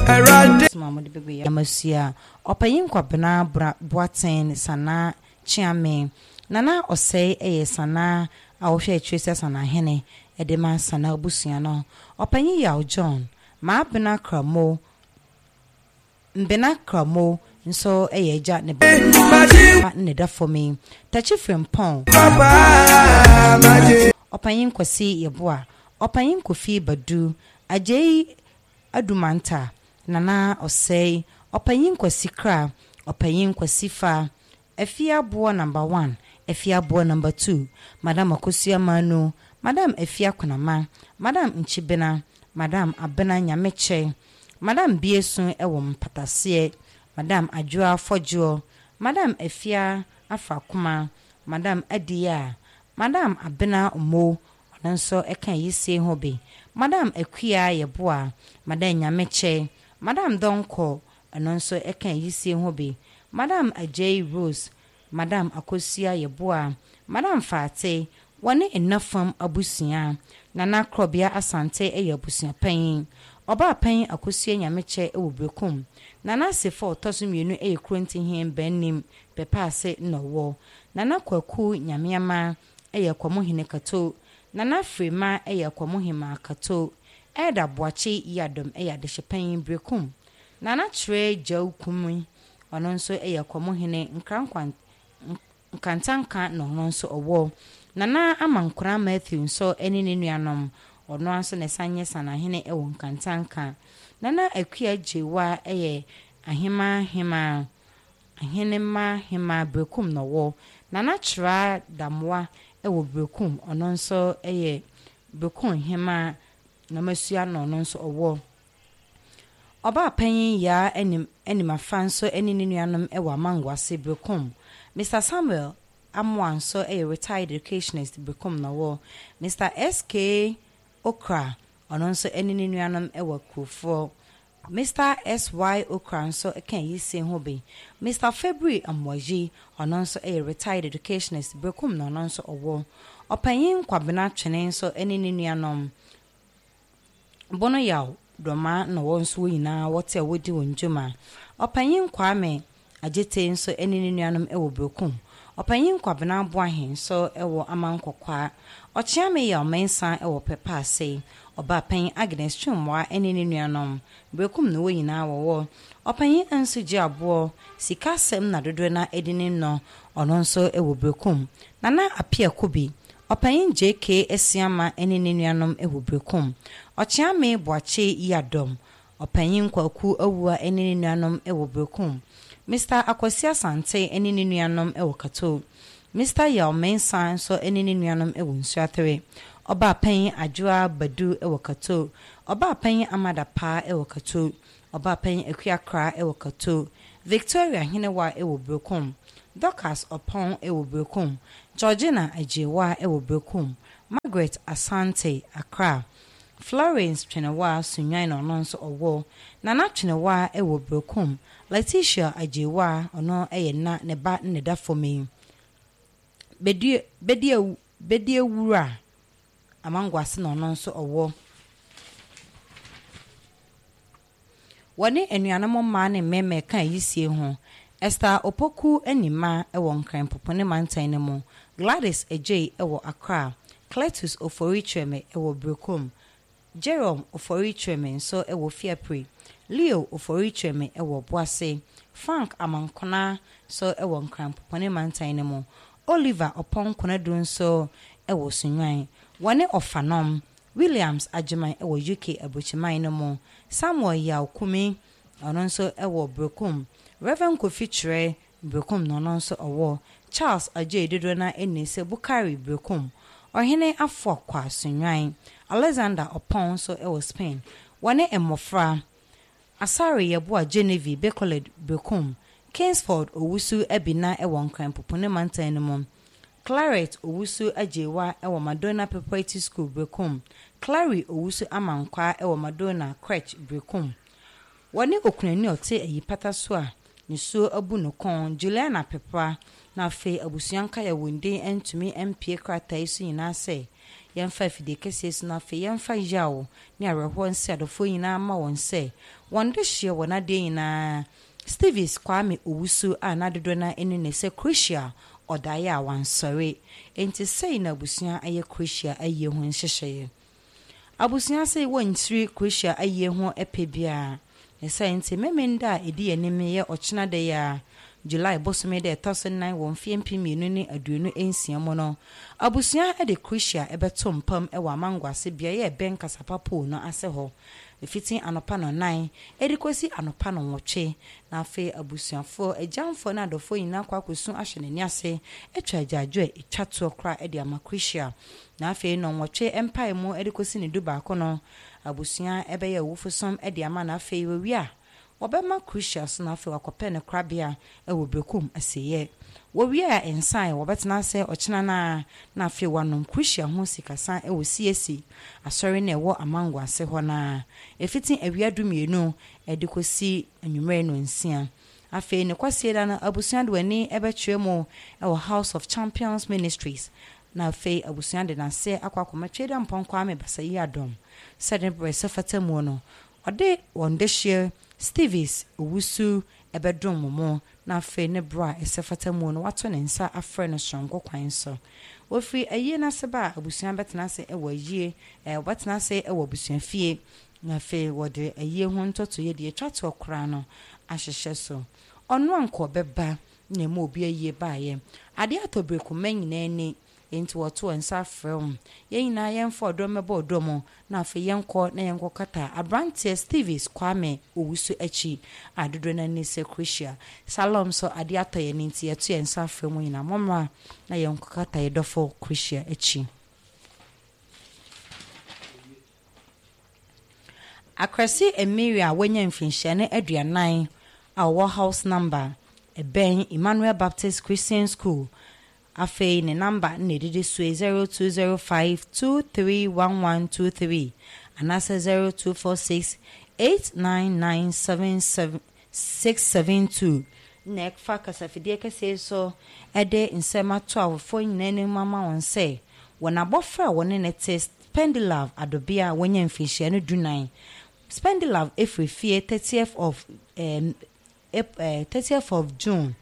Awurade. Ma wɔde bɛgu yɛn amasua. Ɔpanyin Kwabena Bra Boateng Sanaa Kyeame. Nana Ɔsɛe yɛ Sanaa a wɔhwɛ akyire sɛ Sanahene de ma Sanaa abusua no. Ɔpanyin Yaw John, Maabena Kramo, Mbena Kramo nso yɛ agya ne ba ne da fam yi. Takyi Frimpong, Ɔpanyin Kwasi Yeboah, Ɔpanyin Kofi Badu, Agyei Adumanta, Nana Ɔsɛe, Ɔpanyin Kwasi Kra, Ɔpanyin Kwasi Fa, Afie Aboɔ Number One, Afie Aboɔ Number Two, Madam Akosua Manu, Madam Afie Akonama, Madam Nkyibena, Madam Abena Nyamekyɛ, Madam Biesu wɔ Mpataseɛ, Madam Adwoa Fɔdwoɔ, Madam Afia Afrakoma, Madam Adiyaa, Madam Abena Omo, ɔno nso ka ayisie ho bi, Madam Akua Yeboah, Madam Nyamekyɛ, Madam Donkor, ɔno nso ka ayisie ho bi, Madam Agyei Rose, Madam Akosua Yeboah, Madam Faate, wɔne Nnafam abusua. Nana Krɔbea Asante yɛ abusua panyin. Ɔbaa panyin Akosua Nyamekyɛ wɔ Berekum. Nana Asefo a ɔtɔ so mmienu yɛ Kurontihene Bannim Pɛpɛase na ɔwɔ. Nana Kwaku Nyameama yɛ Akwamuhene Kato. Nana Frema yɛ Akwamuhemaa Kato. Elder Boakye Yiadom yɛ Adehyepanyin Berekum. Nana Kyerɛ Gyaw Kumi, ɔno nso yɛ Akwamuhene Nkrankwan Nkantanka na ɔno nso ɔwɔ. Nana Amankona Matthew nso ne ne nuanom, ɔno ara nso na ɛsan yɛ Sanahene wɔ Nkantanka. Nana Akua Gyewa yɛ Ahemaa Hemaa, Ahenemma Hemaa Berekum na ɔwɔ. Nana Kyerah Damoah wɔ Berekum, ɔno nso yɛ Berekum Hemaa Namasua na ɔno nso ɔwɔ. Ɔbaapanyin Yaa Anim Animafa nso ne ne nuanom wɔ Amangoase, Berekum. Mister Samuel Amoah nso yɛ retired educationist, Berekum na ɔwɔ. Mister SK Okra, ɔno nso ne ne nuanom wɔ Akurofoɔ. Mister SY Okra nso ka ayisie ho bi. Mister Febri Amoayi, ɔno nso yɛ retired educationist, Berekum na ɔno nso ɔwɔ. Ɔpanyin Kwabena Twene nso ne ne nuanom. Bono Yaw Dormaa na wɔn nso wɔn nyinaa wɔte a wɔdi wɔn dwuma. Ɔpanyin Kwame Agyetey nso ne ne nuanom wɔ Berekum. Ɔpanyin Kwabena Boahen nso wɔ Amankɔkwaa. Ɔkyeame Yaw Mensah wɔ Pɛpɛase. Ɔbaapanyin Agnes Twumwaa ne ne nuanom, Berekum na wɔn nyinaa wɔwɔ. Ɔpanyin Ansu Gyeaboɔ, sika asɛm na dodoɔ no ara di ne nnɔ, ɔno nso wɔ Berekum. Nana Appiah Kubi, Ɔpanyin JK Asiamah ne ne nuanom wɔ Berekum. Ɔkyeame Boakye Yiadom, Ɔpanyin Kwaku Awuah ne ne nuanom wɔ Berekum. Mister Akwasi Asante ne ne nuanom wɔ Kato. Mister Yaw Mensah nso ne ne nuanom wɔ Nsuatere. Ɔbaapanyin Adwoa Badu wɔ Kato. Ɔbaapanyin Amada Paa wɔ Kato. Ɔbaapanyin Akua Kra wɔ Kato. Victoria Henewa wɔ Berekum. Dorcas Oppong wɔ Berekum, Georgina Agyewaa wɔ Berekum, Margaret Asante, Accra, Florence Twenewaa, Sunyani na ɔno nso ɔwɔ, Nana Twenewaa wɔ Berekum, Letitia Agyewaa, ɔno yɛ na ne ba na ɛda fam yi, Bedie Bedie Bediewura Amangoase na ɔno nso ɔwɔ. Wɔne anuanom mmaa ne mmarima reka ayisie ho. Esther Opoku Animah wɔ Nkran Popone Mantan no mu, Gladys Adjei wɔ Accra, Cletus Ofori Kyereme wɔ Berekum, Jerome Ofori Kyereme nso wɔ Fiapre, Leo Ofori Kyereme wɔ Obuasi, Frank Amankona nso wɔ Nkran Popone Mantan no mu, Oliver Oppong Konadu nso wɔ Sunyani. Wɔne Ɔfanom, Williams Agyeman wɔ UK aburokyiman no mu, Samuel Yaw Kumi, ɔno nso wɔ Berekum, Rev. Kofi Kyerɛ, Berekum na ɔno nso ɔwɔ, Charles Adjei dodoɔ no ara nim sɛ Bukari Berekum, Ɔhene Afoakwa Sunyani, Alexander Oppong nso wɔ Spain. Wɔne mmɔfra, Asare Yeboah Genevieve Bekoled Berekum, Kingsford Owusu Abina wɔ Nkran Pupuni Mantan no mu, Claret Owusu Agyeiwa wɔ Madonna Preparatory School, Berekum, Clary Owusu Amankwaa wɔ Madonna Crèche, Berekum. Wɔne okunani a ɔte ayi pata so a nisuo abu no kɔn, Juliana Pepra, na afei abusua nkae a wɔn din antumi ampue krataa yi so nyinaa sɛ yɛmfa afidie kɛseɛ so na afei yɛmfa yaw ne awerɛhoɔ nse adɔfoɔ nyinaa mma wɔn sɛ. Wɔn de hyeɛ wɔ n'adeɛ nyinaa Stevis Kwame Owusu a n'adodoɔ no ani ne sɛ Crucial ɔdaeɛ a wansɔre. Enti sei na abusua ayɛ Crucial ayie ho nhyehyɛeɛ. Abusua sɛ wɔntiri Crucial ayie ho ɛpɛ biara. Ne sɛ nti Memenda a ɛdi anim yɛ ɔkyena da yi a July bosome da ɛtɔ so 4 wɔ mfeɛ 2026 mu no, abusua de Crucial ɛbɛto mpam wɔ Amango ase beaeɛ a ɛbɛn Kasapa no ase hɔ. Ɛfiti anɔpa 9 ɛde kɔsi anɔpa 8, na afei abusuafoɔ, agyamfoɔ ne adɔfoɔ nyinaa kɔ akɔsu ahyɛ n'ani ase, atwa agyaadwo a ɛtwa toɔ koraa de ama Crucial. Na afei 8 mpae mu de kɔsi ne 11 no, abusua ɛbɛyɛ awufosom de ama no. Afei wɔwie a, wɔbɛma Crucial so na afei wakɔpɛ ne korabea wɔ Berekum asieɛ. Wɔwie a, nsan wɔbɛtena ase ɔkyena no a na afei wanom Crucial ho sikasa wɔ CAC asɔre no ɛwɔ Amango ase hɔ no ɛfiti awia 12 de kɔsi anwummerɛ 6. Afei ne kwasie da no, abusua de w'ani bɛkyerɛ mu wɔ House of Champions Ministries, na afei abusua de n'ase akɔ akɔma Tweda Mpɔn Kwame Basayi Adɔm sɛde berɛ sɛ fata mu no ɔde wɔn de hyeɛ Stevis Owusu ɛbɛdom mo, na afei ne berɛ a ɛsɛ fata mu no wato ne nsa afrɛ no soronko kwan so. Wɔfiri ayie n'ase ba a, abusua bɛtena ase wɔ ayie wɔbɛtena ase wɔ abusua fie, na afei wɔde ayie ho ntɔtoyɛ deɛ atwa toɔ koraa no ahyehyɛ so. Ɔno ankɔ bɛba na emu obi ayie baeɛ adeɛ atɔ berekuma nyinaa ni, nti wɔto nsa afrɛ wɔn yɛn nyinaa yɛmfa ɔdɔ mmɛbɔ ɔdɔ mu, na afei yɛnkɔ na yɛnkɔ kata aberanteɛ Stevis Kwame Owusu akyi a dodoɔ no ani sɛ Crucial Salom so adeɛ atɔ yɛn, nti yɛto yɛn nsa afrɛ mu nyinaa, mommra na yɛnkɔ kata yɛ dɔfo Crucial akyi. Akwasi Emiria a wanya mfinhyia ne 40 a ɔwɔ house number ɛbɛn Emmanuel Baptist Christian School. Afei ne number na ɛdidi so yi: 0205231123 anaasɛ 024689977672. Na ɛfa kasafidie kɛseɛ so ɛde nsɛm ato awofoɔ nyinaa anim ama wɔn sɛ wɔn abɔfra a wɔne ne te Spendilove Adobea a wɔanya mfinhyia no 14, Spendilove efiri fie 30th of June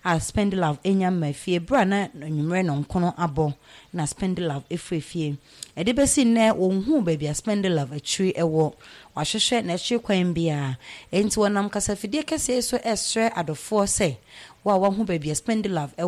a Spendilove enya mma fie bere a na anwummerɛ 9 abɔ na Spendilove efiri fie. Ɛde bɛsi nnɛ wɔn hu baabi a Spendilove akyiri ɛwɔ, wahwehwɛ n'akyiri kwan biara. Enti wɔnam kasafidie kɛseɛ so ɛsrɛ adɔfoɔ sɛ wo a wahu baabi a Spendilove ɛwɔ.